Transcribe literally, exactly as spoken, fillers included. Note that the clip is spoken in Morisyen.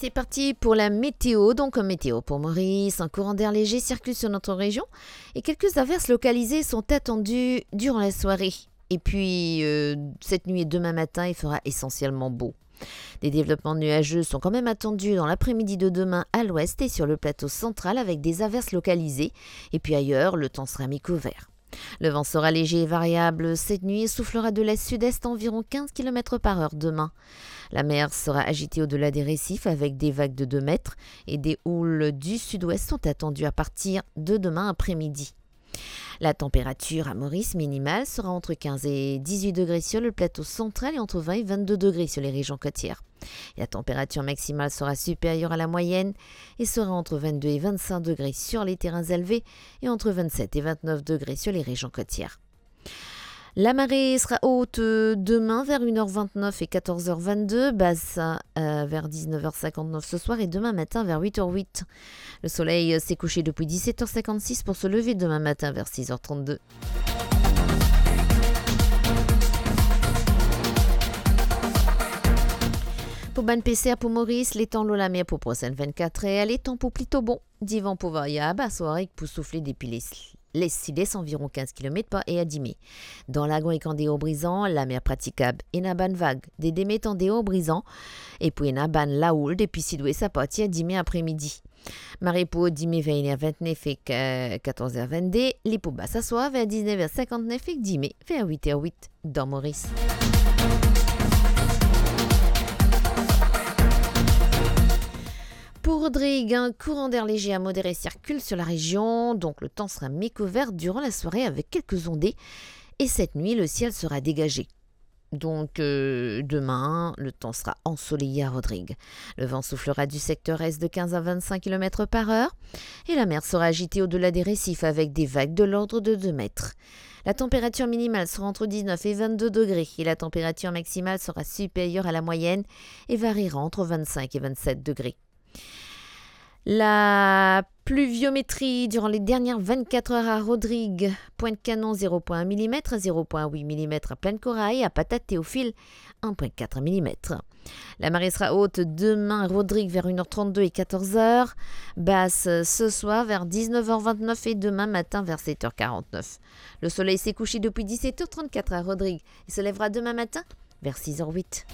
C'est parti pour la météo. Donc, météo pour Maurice. Un courant d'air léger circule sur notre région et quelques averses localisées sont attendues durant la soirée. Et puis, euh, cette nuit et demain matin, il fera essentiellement beau. Des développements nuageux sont quand même attendus dans l'après-midi de demain à l'ouest et sur le plateau central avec des averses localisées. Et puis ailleurs, le temps sera mi-couvert. Le vent sera léger et variable cette nuit et soufflera de l'est-sud-est à environ quinze kilomètres par heure demain. La mer sera agitée au-delà des récifs avec des vagues de deux mètres et des houles du sud-ouest sont attendues à partir de demain après-midi. La température à Maurice minimale sera entre quinze et dix-huit degrés sur le plateau central et entre vingt et vingt-deux degrés sur les régions côtières. Et la température maximale sera supérieure à la moyenne et sera entre vingt-deux et vingt-cinq degrés sur les terrains élevés et entre vingt-sept et vingt-neuf degrés sur les régions côtières. La marée sera haute, euh, demain vers une heure vingt-neuf et quatorze heures vingt-deux, basse, euh, vers dix-neuf heures cinquante-neuf ce soir et demain matin vers huit heures huit. Le soleil, euh, s'est couché depuis dix-sept heures cinquante-six pour se lever demain matin vers six heures trente-deux. Pou bann peser pou Moris, letan lor lamer pou prosenn vinn-kat er, letan pou plito bon. Divan pou variab, aswar ek pou soufle depi les, les, sides anviron kinz kilomet par er dime. Dan lagran ek andeor Brizan, lamer pratikab, ena bann vag de de met andeor Brizan, e pou ena bann laoul depi sidwes apartir dime apremidi. Mare pou dime ver enn er vintnef ek, eh, katorz er vennde, li pou bas aswar ver diznef er sinkantnef ek dime ver wit er wit dan Moris. Pour Rodrigues, un courant d'air léger à modéré circule sur la région, donc le temps sera mi-couvert durant la soirée avec quelques ondées. Et cette nuit, le ciel sera dégagé. Donc, euh, demain, le temps sera ensoleillé à Rodrigues. Le vent soufflera du secteur est de quinze à vingt-cinq kilomètres par heure et la mer sera agitée au-delà des récifs avec des vagues de l'ordre de deux mètres. La température minimale sera entre dix-neuf et vingt-deux degrés et la température maximale sera supérieure à la moyenne et variera entre vingt-cinq et vingt-sept degrés. La pluviométrie durant les dernières vingt-quatre heures à Rodrigues, Pointe-Canon, zéro point un millimètre, zéro point huit millimètres à Plaine-Corail, à Patate-Théophile, un point quatre millimètres. La marée sera haute demain à Rodrigues vers une heure trente-deux et quatorze heures, basse ce soir vers dix-neuf heures vingt-neuf et demain matin vers sept heures quarante-neuf. Le soleil s'est couché depuis dix-sept heures trente-quatre à Rodrigues. Il se lèvera demain matin vers six heures huit.